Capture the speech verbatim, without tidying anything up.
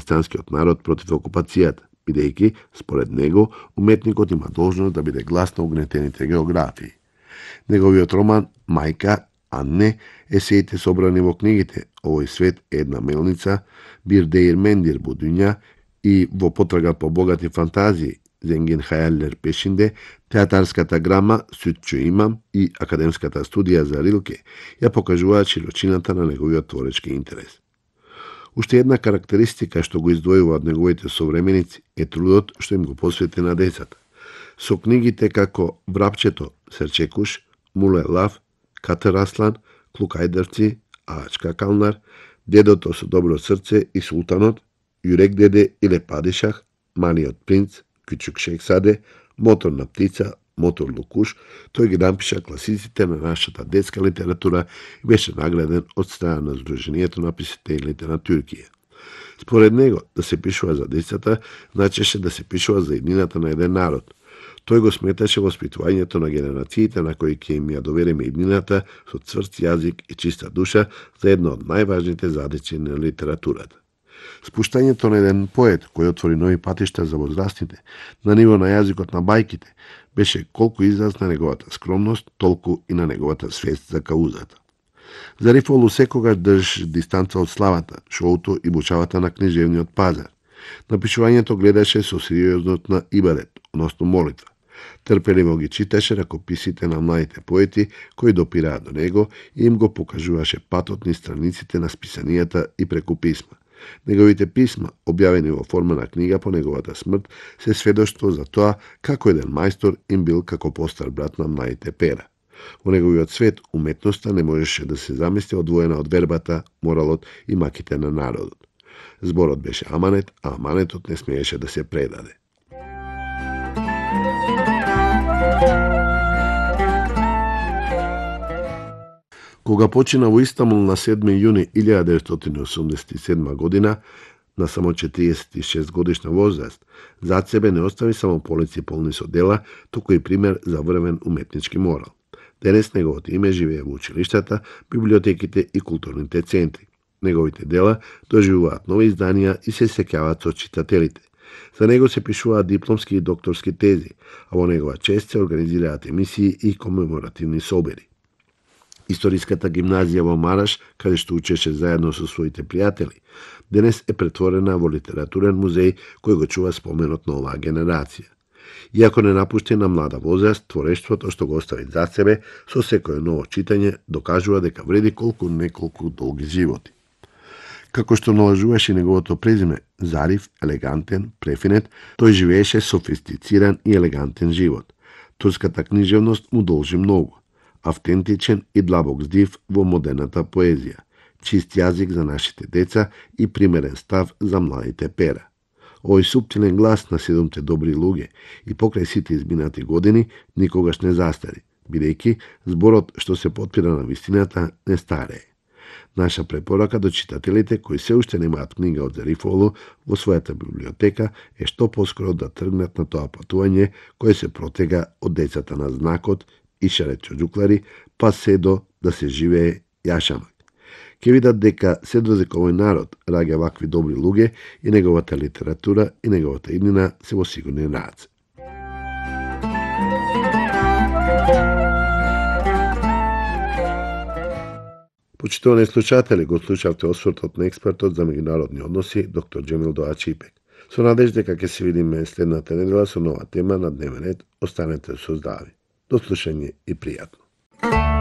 христијанскиот народ против окупацијата, бидејќи, според него, уметникот има должност да биде глас на угнетените географии. Неговиот роман «Мајка, а не» есеите собрани во книгите «Овој свет е една мелница», «Бир деир мендир будуња» и «Во потрага по богати фантазии» Зенгин Хајаллер Пешинде, театарската грама «Сутчу имам» и академската студија за Рилке ја покажуваат широчината на неговиот творечки интерес. Уште една карактеристика што го издвојува од неговите современици е трудот што им го посвети на децата. Со книгите како Врапчето, Серчекуш, Муле Лав, Катер Аслан, Клукајдерци, Ачка Калнар, Дедото со добро срце и Султанот, Јурек деде и Лепадишах, Малиот принц, Кючук Шехзаде, Моторна птица, Мотор Лукуш, тој ги напиша класиците на нашата детска литература и беше награден од страна на Сдруженијето на писателите на Туркија. Според него, да се пишува за децата, значеше да се пишува за иднината на еден народ. Тој го сметаше воспитувањето на генерациите на кои ќе им ја довериме иднината со цврст јазик и чиста душа за една од најважните задачи на литературата. Спуштањето на еден поет кој отвори нови патишта за возрастните на ниво на јазикот на бајките беше колку израз на неговата скромност, толку и на неговата свест за каузата. Зарифолу секогаш држ дистанца од славата, шоуто и бучавата на книжевниот пазар. Напишувањето гледаше со сериозност на ибадет, односно молитва. Трпеливо ги читаше ракописите на младите поети кои допираат до него и им го покажуваше патот низ страниците на списанијата и преку писма. Неговите писма, објавени во форма на книга по неговата смрт, се сведоштво за тоа како еден мајстор им бил како постар брат на младите пера. Во неговиот свет уметноста не можеше да се замисли одвоена од вербата, моралот и маките на народот. Зборот беше аманет, а аманетот не смееше да се предаде. Кога почина во Истанбул на седми јуни илјада деветстотини осумдесет и седма година, на само четириесет и шест годишна возраст, зад себе не остави само полици полни со дела, туку и пример за врвен уметнички морал. Денес неговото име живее во училиштата, библиотеките и културните центри. Неговите дела доживуваат нови изданија и се сеќаваат со читателите. За него се пишуваат дипломски и докторски тези, а во негова чест се организираат емисии и комеморативни собери. Историската гимназија во Мараш, каде што учеше заедно со своите пријатели, денес е претворена во литературен музеј кој го чува споменот на оваа генерација. Иако не напушти на млада возраст, творештвото што го остави за себе, со секое ново читање, докажува дека вреди колку неколку долги животи. Како што налажуваше неговото презиме, Зариф, елегантен, префинет, тој живееше софистициран и елегантен живот. Турската книжевност му должи многу. Автентичен и длабок здив во модерната поезија, чист јазик за нашите деца и примерен став за младите пера. Овој суптилен глас на седумте добри луѓе и покрај сите изминати години никогаш не застари, бидејќи зборот што се потпира на вистината не старее. Наша препорака до читателите кои се уште немаат книга од Зарифолу во својата библиотека е што поскоро да тргнат на тоа патување кое се протега од децата на знакот и Шарет Чоџуклари, па се до да се живее јашамак. Ке видат дека се додека овој народ раѓа вакви добри луѓе и неговата литература и неговата иднина се во сигурни раце. Почитувани слушатели, го слушавте освртот на експертот за меѓународни односи, доктор Џемил Доаչипек. Со надежда дека ќе се видиме следната недела со нова тема на дневен ред, останете со здрави. До слушање и пријатно.